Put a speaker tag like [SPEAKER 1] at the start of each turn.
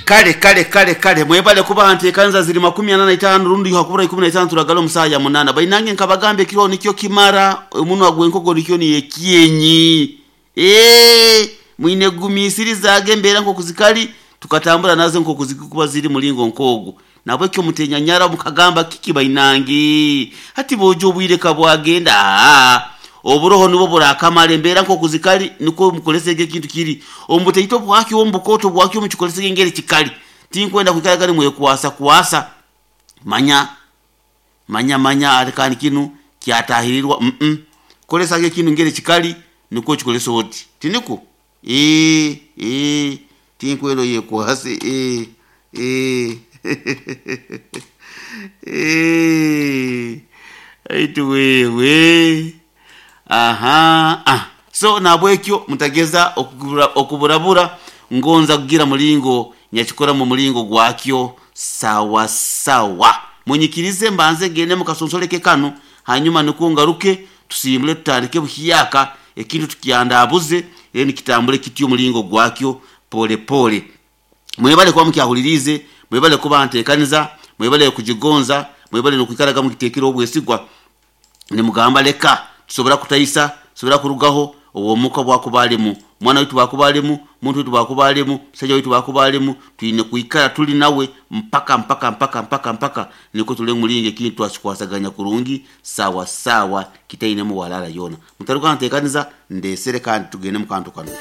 [SPEAKER 1] Kale kale kale kale, mwebale kuba ntekanza ziri 45 rundi hakubura 15 turagala omusaha ya 8. Bainange nkabagamba ekiro nikyo kimara omunwa gwenkoko nikyo niyekyenyi. Mwine gumisirizaage embeera nk'okuzikali tukatambura nazo nk'okuzikuba ziri mulingo nk'ogu. Nabwekyo mutenyanyara mukagamba kiki bainange hati bojo obwire kabwagenda. Oburoho nibwo burakamara embeera nk'okuzikali nikwo mukolesege ekintu kiri omubuteito bwakyo omubukoto bwakyo mukikolesege engeri kikali. Tinkwenda kwikara gari mwekwasa kwasa manya manya manya ate kandi kinu kyatahirirwa. Kolesage ekintu ngeri kikali nikwo kikolesa oti tiniko. Tinkwenda yekwase. Aitu wewe. Aha. So nabwekyo mutageza okuburabura ngonza kugira mulingo nyakikora mu mulingo gwakyo sawa sawa. Munyikirize mbanze gende mukasonsoleke kano, hanyuma niko ngaruke tusimbule tutandike buhiyaka ekintu tukiandabuze rero nikitambule kityo mulingo gwakyo pole pole. Mwebale kuba mukyahulirize, mwebale kuba ntekaniza, mwebale kujigonza, mwebale nokwikaraga mukitekera obwesigwa. Nimugamba leka tusobora kutaisa, tusobora kurugaho owomuka bwakubalimu, mwana witu bwakubalimu, muntu witu bwakubalimu, musajja witu bwakubalimu, twine kwikara tuli nawe mpaka mpaka mpaka mpaka mpaka niko tule mulinge kintu twasikwasaganya kurungi sawa sawa kitaine mu walala yona. Mutaruka ntekaniza ndesere kandi tugende mu kantu kano.